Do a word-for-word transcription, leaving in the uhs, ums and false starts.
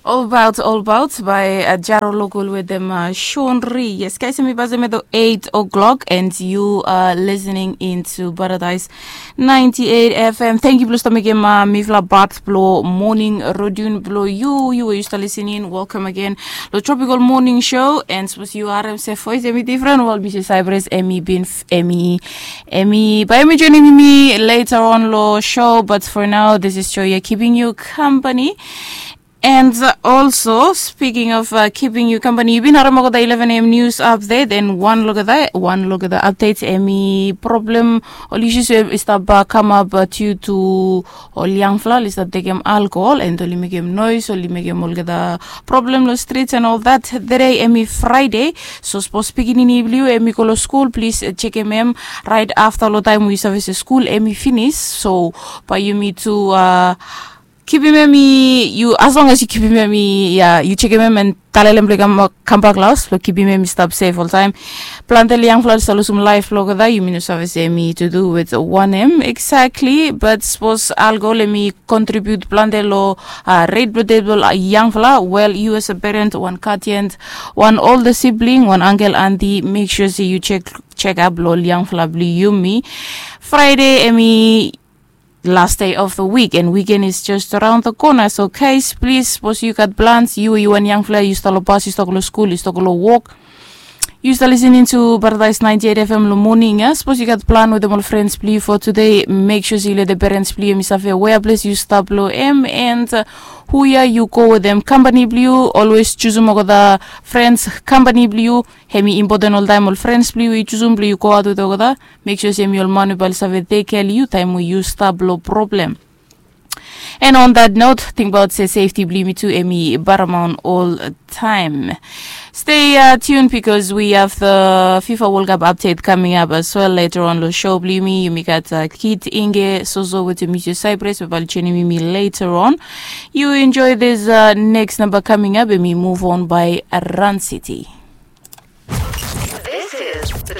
All about, all about by uh, Jaro Local with them uh, Shonri. Yes, guys, mi basa medo eight o'clock and you are listening into Paradise ninety-eight F M. Thank you, Blue Stomach, uh, mifla bat blo morning rodun blo you. You are used to listening. Welcome again. Lo Tropical Morning Show and suppose you are M C voice, Emmy different. Well, Missus Cypress, Emmy bin, Emmy, Emmy, by Emmy joining me later on lo show. But for now, this is Joya keeping you company. And uh, also, speaking of uh, keeping you company, yu bin harem olgeta eleven a.m. news update and one look at that, one look at the updates, Emmy problem, ol issues we i stap uh, come up uh, due to ol yangfala oli stap tekem alcohol and oli mekem noise, oli mekem olgeta problem lo streets and all that. Today, Emmy Friday, so suppose pikinini blue, Emmy go lo school, please uh, check em right after lo time we service school, Emmy finish. So, by you me to uh, kipim em i yu as long as yu kipim em i ya yu jekem em and talelem blong i kambak long haus blong kipim em i stap sef oltaem. Plante long yangfala oli stap lusum laef blong olgeta yumi no save se em i to do with wanem exactly, but sapos alkohol em i kontribiut plante long ret blong ded blong yangfala, wel yu as a parent, wan guardian, wan older sibling, wan angkel, anti, mek sua se yu jek jekap long ol yangfala blong yumi. Fraede em i last day of the week and weekend is just around the corner. So guys, please, suppose you got plans, you you wan yangfala, you start lo bus, you start lo school, you start lo work, you start listening to Paradise ninety-eight F M lo morning, yeah? Suppose you got plan with them all friends, please, for today. Make sure you let the parents, please, mi save where place you start lo M and uh, who ya you go with them company blue. Always choose them the friends company blue. Hemi important all time all friends blue you choose them blue you go out with the Mek sua se em i ol man we bae oli save tek kea long yu taem we yu stap long problem. And on that note, tingbaot se safety blong yumi tu em i paramount all time. Stay uh, tuned because we have the FIFA World Cup update coming up as well later on lo show blong yumi. Yumi gat uh, Kit Inge Soso with Emisio Cyprus we bae oli joining yumi later on. You enjoy this uh, next number coming up and we move on by Run City. This is the